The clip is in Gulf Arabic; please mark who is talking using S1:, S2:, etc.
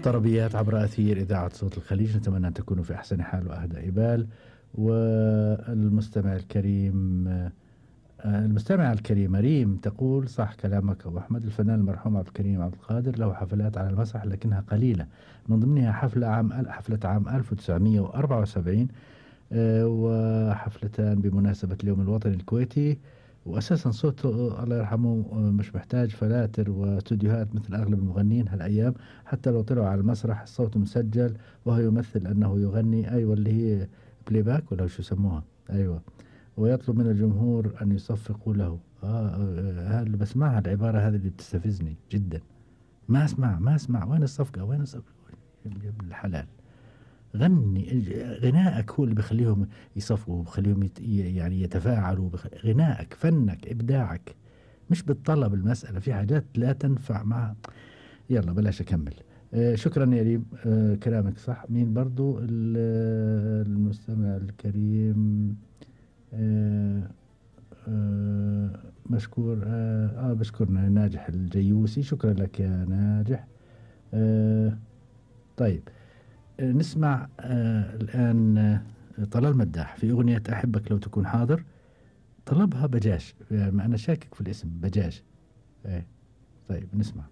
S1: طربيات عبر أثير إذاعة صوت الخليج، نتمنى أن تكونوا في أحسن حال وأهدى بال. والمستمع الكريم المستمع الكريمة ريم تقول: صح كلامك أبو أحمد، الفنان المرحوم عبد الكريم عبد القادر له حفلات على المسرح لكنها قليلة، من ضمنها حفلة عام 1974 وحفلتان بمناسبة اليوم الوطني الكويتي. وأساسا صوته الله يرحمه مش محتاج فلاتر واستوديوهات مثل أغلب المغنيين هالأيام، حتى لو طلعوا على المسرح الصوت مسجل وهو يمثل أنه يغني. أيوة اللي هي بلاي باك ولا شو يسموها. أيوة. ويطلب من الجمهور أن يصفقوا له. هذا بسمعها العبارة هذه اللي بتستفزني جدا. ما أسمع وين الصفقة، وين الصفقة يا ابن الحلال. غني، غنائك هو اللي بخليهم يصفقوا وبخليهم يعني يتفاعلوا. غنائك، فنك، إبداعك، مش بالطلب. المسألة في حاجات لا تنفع مع. يلا بلاش أكمل. شكرا يا ريم. كلامك صح. مين برضو المستمع الكريم؟ مشكور. بشكرنا ناجح الجيوسي. شكرا لك يا ناجح. طيب نسمع الآن طلال مداح في أغنية أحبك لو تكون حاضر. طلبها بجاش، يعني أنا شاكك في الاسم بجاش. طيب نسمع.